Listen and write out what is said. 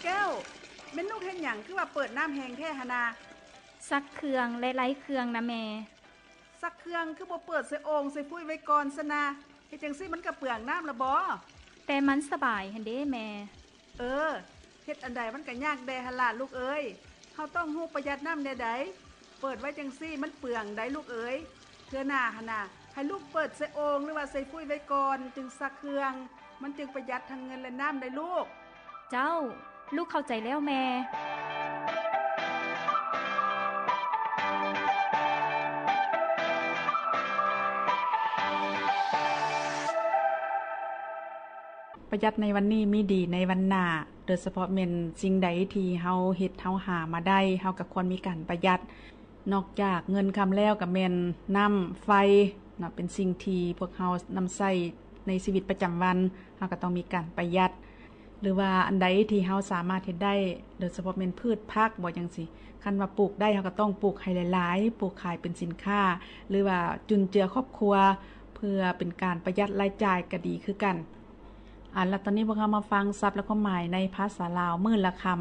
ແກ້ວ, ແມ່ນລູກເຮັດຫຍັງຄືວ່າເປີດນ້ຳແຮງແທ້ຫັ້ນນາ? ຊັກເຄື່ອງ ແລະ ໄລ່ເຄື່ອງນະແມ່. ຊັກເຄື່ອງຄືບໍ່ເປີດໃສ່ໂອ່ງໃສ່ຟຸ້ຍໄວ້ກ່ອນຊັ້ນນາ? ເຮັດຈັ່ງຊີ້ມັນກະເປືອງນ້ຳລະບໍ? ແຕ່ມັນສະບາຍຫັ້ນເດ້ແມ່. ເອີ, ເຮັດອັນໃດມັນກະຍາກແດ່ຫັ້ນລະລູກເອີຍ. ເຮົາຕ້ອງຮູ້ປະຢັດນ້ຳແນວໃດ. ເປີດໄວ້ຈັ່ງຊີ້ມັນເປືອງໃດລູກເອີຍ. ເທື່ອໜ້າຫັ້ນນະ ໃຫ້ລູກເປີດໃສ່ໂອ່ງ ຫຼືວ່າໃສ່ຟຸ້ຍໄວ້ກ່ອນ ຈຶ່ງຊັກເຄື່ອງ. ມັນຈຶ່ງປະຢັດທັງເງິນ ແລະ ນ້ຳໄດ໋ລູກ. ເຈົ້າ, ລູກເຂົ້າໃຈແລ້ວແມ່. ປະຢັດໃນວັນນີ້ມີດີໃນວັນໜ້າ, ໂດຍສະເພາະແມ່ນສິ່ງໃດທີ່ເຮົາເຮັດເຮົາຫາມາໄດ້ ເຮົາກໍຄວນມີການປະຢັດ. ນອກຈາກເງິນຄຳແລ້ວກໍແມ່ນນ້ຳໄຟເນາະ ເປັນສິ່ງທີ່ພວກເຮົານຳໃຊ້ໃນຊີວິດປະຈຳວັນ, ເຮົາກໍຕ້ອງມີການປະຢັດ ຫຼືວ່າອັນໃດທີ່ເຮົາສາມາດເຮັດໄດ້ ໂດຍສະເພາະແມ່ນພືດຜັກບໍ ຈັ່ງຊີ້, ຄັນວ່າປູກໄດ້ເຮົາກໍຕ້ອງປູກໃຫ້ຫຼາຍໆ, ປູກຂາຍເປັນສິນຄ້າ ຫຼືວ່າຈຸນເຈືອຄອບຄົວ ເພື່ອເປັນການປະຢັດລາຍຈ່າຍກໍດີຄືກັນ. ອັນ ແລ້ວຕອນນີ້ພວກເຮົາມາຟັງສັບ ແລະ ຄວາມໝາຍໃນພາສາລາວມື້ລະຄຳ.